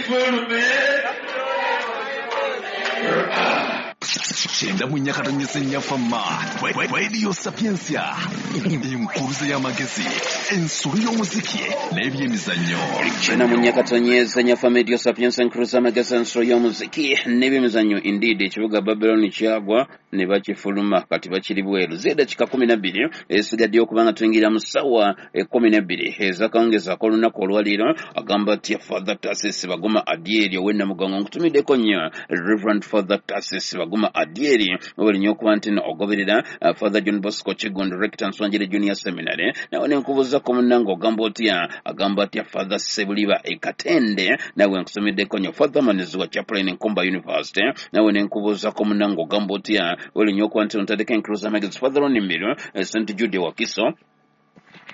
Ogifulume. 94.4 Fama Radio Sapientia, enkuruze y'amagezi, ensolo y'omuziki n'ebyemizannyo. 94.4 Fama Radio Sapientia, enkuruze y'amagezi, ensolo y'omuziki n'ebyemizannyo. Indeed, ekibuga Babylon kyagwa ne bakifuluma, kati bakiri bweru. Z'eddakiika 12 esigaddeyo okubanga tuyingira mu ssaawa 12 ez'akawungeezi ak'olunaku olwaleero. Agamba atya Father Tarsis Baguma Adyeri ow'e Namugongo? Nkutumiddeko nnyo, Reverend Father Tarsis Baguma Adyeri, webale nnyo okuba nti ogoberera. Father John Bosco Kiggundu, Rector Nswanjere Junior Seminary, nawe ne nkubuuzako munnange, ogamba otya? Agamba atya Father Sebuliba e Katende? Nawe nkusomeddeko nnyo. Father Maniziwa, Chaplain, Nkumba University, nawe ne nkubuuzako munnange, ogamba otya? Webale nnyo okuba nti ntaddeko enkuluza amagezi. Father Ronimiro, St Jude Wakiso,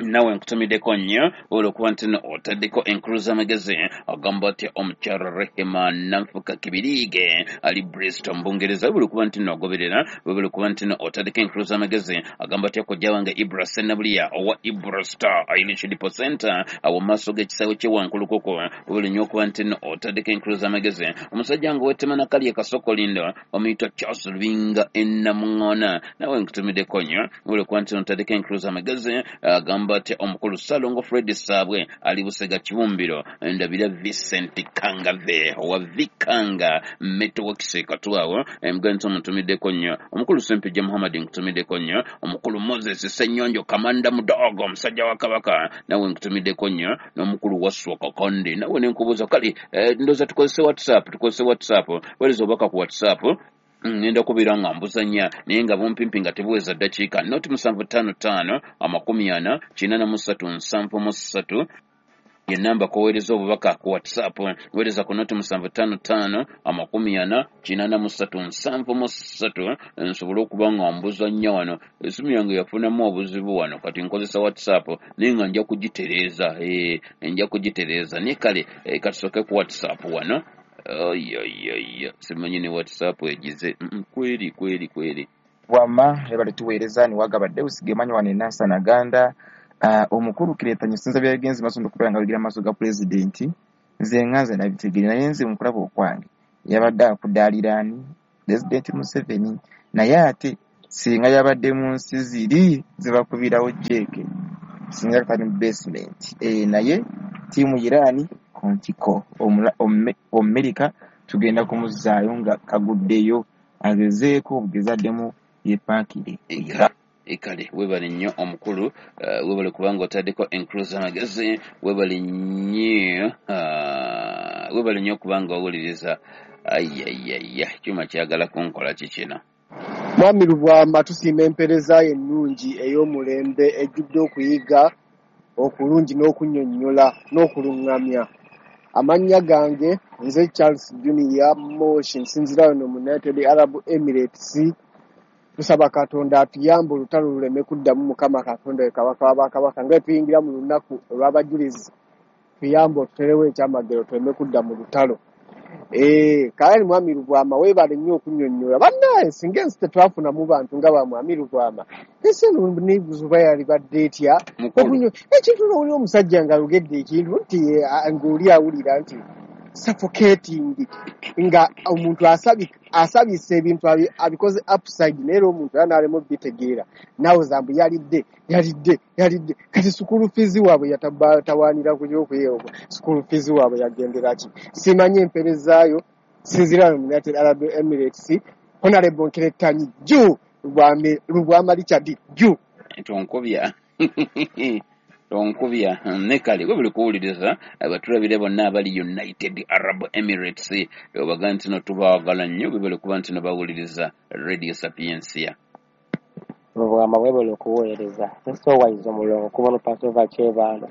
nawe nkutumiddeko nnyo olwokuba nti no otaddeko enkulu z'amagezi. Agamba atya omukyala Rehema Nanfuka Kibiriige ali Bristol mu Bungereza? Webale okuba nti no ogoberera, webale okuba nti no otaddeko enkulu z'amagezi. Agamba atya kojja wange Ibra Senabuliya owa Ibra Star Irish Depot Center awo mu maaso g'ekisaawe ky'e Wankulukuku? Webale nnyo okuba nti no otaddeko enkulu z'amagezi. Omusajja nga owetema nakali e Kasokolindo bamuyita Charles Lubinga Enamuŋŋoona, nawe nkutumiddeko nnyo, webale okuba nti no otaddeko enkulu z'amagezi. Agamba atya omukulu Ssalongo Fred Saabwe ali Busega Kibumbiro? Ndabira Vincent Kangave owa Vikanga Networks Katwawo, emuganda nti omutumiddeko nnyo. Omukulu Sempejja Muhammad, nkutumiddeko nnyo. Omukulu Moses Ssenyonjo, Kamanda Mudogo, omusajja wa Kabaka, nawe nkutumiddeko nnyo. N'omukulu Wasswa Kakonde, nawe nenkubuuza. Kale ndowooza tukozese WhatsApp, tukozese WhatsApp. Weereza obubaka ku WhatsApp, ngenda kubeera nga mbuzanya, naye nga bumpimpi nga tebuweza ddakiika. 0755 40 83 73 ye namba koweereza obubaka ku WhatsApp. Weereza ku 0755 40 83 73 nsobole okuba nga mbuzanya wano. Esimu yange yafunamu obuzibu wano, kati nkozesa WhatsApp, naye nga nja kugitereeza, nja kugitereeza. Naye kale katusooke ku WhatsApp wano. Oyoyoyo, simanyi ne WhatsApp egize kweri kweri kweri. Wama ebale tuweereza niwagaba Deus Gemanyi wano e Nansana Ganda. Omukulu Kireetanye sinza byagenze maaso n'okubeera nga bigira maaso ga pulezidenti. Nze nga nze nabitegeere, naye nze mu kulaba okwange yabadde akudaaliraani Pulezidenti Museveni, naye ate singa yabadde mu nsi ziri zebakubirawo jeeke, singa kali mu basement. Naye ttiimu Iran ku ntiko, Omumerika tugenda kumuzzaayo nga kaguddeyo, agezeeko obugezi addemu yeepaakire. Kale webale nnyo omukulu, webale kubanga otaddeko enkulu z'amagezi. Webale nnyo, webale nnyo okubanga owuliriza. Ayayaya, kyuma kyagala kunkola ki kino? Mwami Lubwama, tusiima empeereza yo ennungi ey'omulembe ejjudde okuyiga okulungi n'okunnyonnyola n'okuluŋŋamya. Amannya gange nze Charles Junior Moshi, nsinziira wano mu United Arab Emirates. Tusaba Katonda atuyambe olutalo luleme kuddamu. Mukama Katonda we Kabaka w'abakabaka, nga bwe tuyingira mu lunaku olw'abajulizi, tuyambe otuterewo ekyamagero tuleme kudda mu lutalo. Kale Mwami Lubwama, weebale nnyo okunnyonnyola. Bannange, singa ensi tetwafunamu bantu nga ba Mwami Lubwama, ensi eno nebuzuba yalibadde etya? Ekintu n'owulira omusajja ng'ayogedde ekintu nti ng'oli awulira nti suffocating, nga omuntu asabisa ebintu abikoze upside, naye era omuntu era n'alema obitegeera. Naawe mbu yalidde yalidde yalidde. Kati school fees waabwe yatawaanira ku ky'okuyeebwa, school fees waabwe yagendera ki? Simanyi empeerezaayo. Sinziira mu United Arab Emirates, Honorable Nkeretanyi Ju Lubwama Richard Ju. Tonkubya, tonkubya. Ne kale we buli kuwuliriza, abatulabire bonna abali United Arab Emirates, obaga nti no tubaagala nnyo, bwe kuba nti no bawuliriza Radio Sapientia. Lubwama, webale okuweereza. Nsowayiza omulongo kuba no Pasova Kyebando.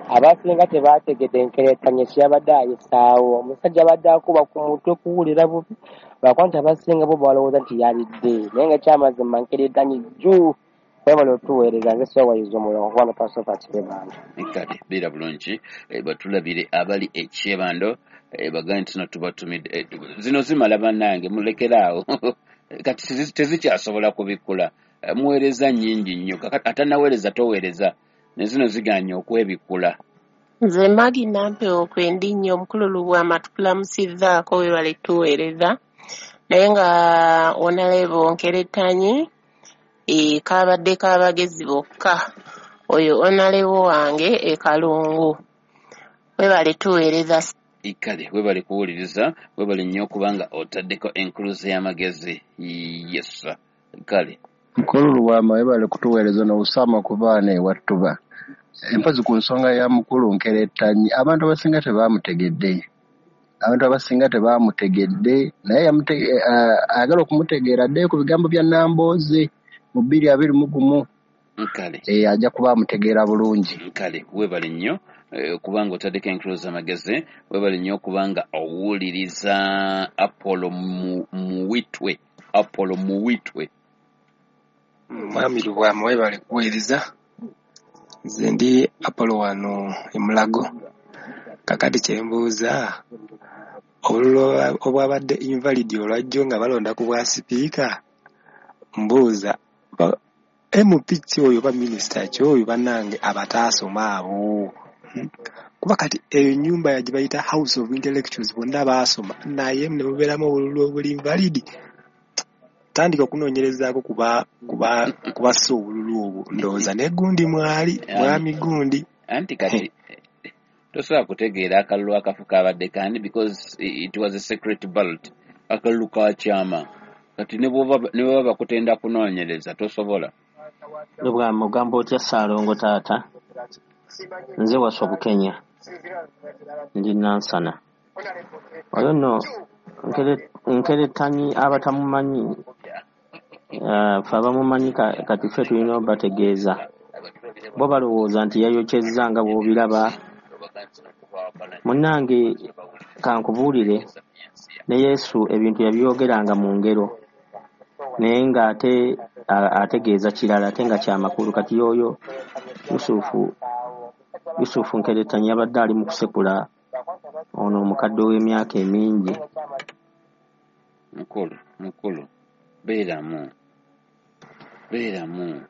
Abasinga tebategedde nkeretanye kyeyabadde ayisaawo. Omusajja abadde akuba ku mutwe kuwulira bubi, lwakuba nti abasinga bo balowooza nti yalidde, naye nga kyamazima nkeretanye jju. Webale otuweereza. Nze Sowayiza omulongo kuba no Pasova Kyebando. Kale beera bulungi. Batulabire abali e Kyebando, bagambe nti no tubatumidde. Zino zimala bannange, mulekeraawo, kati tezikyasobola kubikkula. Muweereza nnyingi nnyo. Atannaweereza toweereza, ne zino ziganye okwebikkula. Nze Maggie Nampewo kwendi nnyo omukulu Lubwama tukulamusizzaako weebale tuweereza naye nga Honorable Nkeretanyi kabadde k'abagezi bokka oyo Honorable wange e Kalungu weebale tuweereza. Kale webale kuwuliriza, webale nnyo okubanga otaddeko enkuluze y'amagezi. Yes, kale Mukulu Lubwama webale kutuweereza n'obusaama ku baana ewattuba. Empozi ku nsonga ya mukulu Nkeretanyi, abantu abasinga tebaamutegedde. Abantu abasinga tebaamutegedde, naye ayagala okumutegeera addeyo ku bigambo bya Nambooze mu 2021. Kale Ajja kuba amutegeera bulungi. Kale webale nnyo okubanga otaddeko enkuluze amagezi, webale nnyo okubanga owuliriza Apollo Muwitwe. Apollo Muwitwe. Mwami Lubwama webale kuweereza. Nze ndi Apollo wano e Mulago. Kakati kye mbuuza, obululu obwabadde invalid olwajjo nga balonda ku bwa sipiika, mbuuza MP ki oyo oba minisita ki oyo bannange abataasoma abo? Kuba kati eyo nnyumba ya gye bayita House of Intellectuals bonna baasoma naye ne mubeeramu obululu obuli invalid. Tandika okunoonyerezaako kubassa obululu obwo, ndowooza ne gundi mwali mwami gundi. Anti kati tosobola kutegeera akalulu akafu kabadde kandi because it was a secret ballot, akalulu ka kyama. Kati ne bw'oba bakutenda kunoonyereza tosobola. Lubwama ogamba otya Ssaalongo taata? Nze Waswa Bukenya, ndi Nansana. Oyo nno Nkeretanyi abatamumanyi, ffe abamumanyi kati ffe tulina obategeeza. Bo balowooza nti yayokyezza nga bw'obiraba. Munnange kankubuulire, ne Yesu ebintu yabyogeranga mu ngero, naye ng'ate ategeeza kirala ate nga kyamakulu. Kati y'oyo Yusufu Nkeretanyi yabadde ali mu kusekula ono omukadde ow'emyaka emingi. Mukulu, beeramu, beeramu.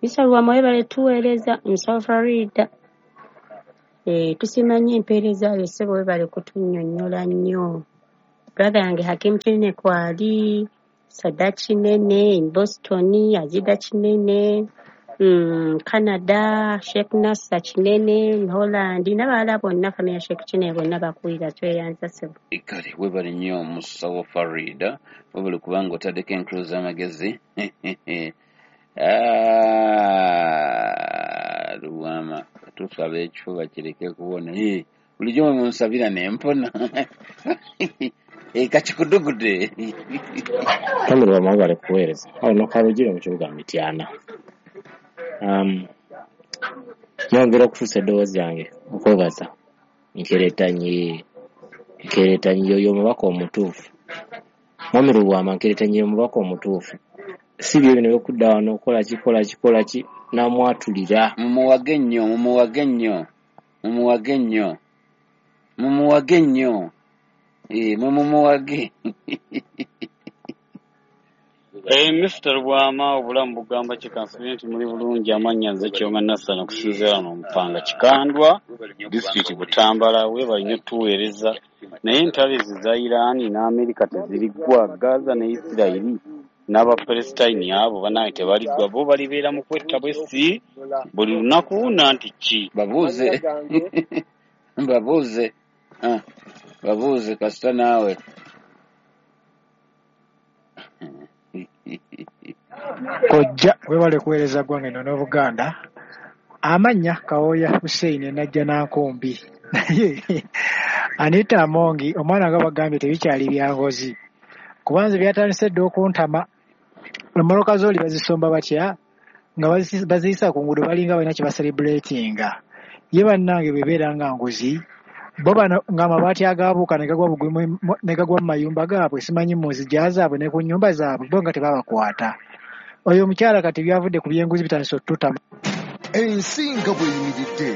Mr. Lubwama webale tuweereza, Musawo Farida. Tusiima nnyo empeereza yo ssebo, webale kutunnyonnyola nnyo. Brother yange Hakim Kinene kwali, Sada Kinene in Boston, Azida Kinene, Canada, Sheikh Nasser Kinene in Holland, n'abalala bonna family ya Sheikh Kinene bonna bakuwulira, tweyanza ssebo. Kale webale nnyo Musawo Farida, webale kubanga otaddeko enkuluze amagezi. Lubwama tusaba ekifuba kireke kuwona. Bulijjo mwe munsabira ne mpona. Kakikudugude. Mwami Lubwama webale kuweereza. Ono Kalugire mu kibuga Mityana. Nyongera okutuusa eddoboozi lyange okwebaza Nkeretanyi. Nkeretanyi y'oyo omubaka omutuufu. Mwami Lubwama Nkeretanyi y'omubaka omutuufu. Si byo bino by'okudda wano okukola ki, kola ki, kola ki, n'amwatulira. Mumuwage nnyo, mumuwage nnyo, mumuwage nnyo, mumuwage nnyo. Mumumuwage. Mr. Lubwama obulamu bugamba ki? Kansubire nti muli bulungi. Amannya nze Kyoma Nassana okusinziira wano Mpanga Kikandwa, disitulikiti Butambala. Weebale nnyo tuweereza. Naye entalo ezo eza Iran ne Amerika teziriggwa, Gaza ne Isirayiri n'Abapalesitayini abo bannange tebaliggwa, bo balibeera mu kwetta bwessi buli lunaku nanti ki? Babuuze, babuuze, babuuze kasita naawe. Kojja webale kuweereza ggwanga eno n'Obuganda. Amannya Kawooya Hussein Najja Nankumbi. Naye Anita Amongi omwana nga bagambye tebikyali bya ngozi. Kubanze byatandise dda okuntama. Emmotoka z'oli bazisomba batya nga baziyisa ku nguudo balinga balina kye baselebuletinga. Ye bannange bwe beera nga nguzi, bo bano ng'amabaati agaabuuka ne gagwa bugwi ne gagwa mu mayumba gaabwe simanyi mu nzigya zaabwe ne ku nnyumba zaabwe bo nga tebabakwata. Oyo omukyala kati byavudde ku byenguzi bitandise otutama. Ensi nga bw'eyimiridde.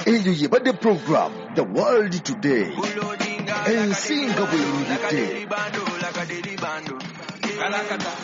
Eyo yebadde program The World Today. Ensi nga bw'eyimiridde.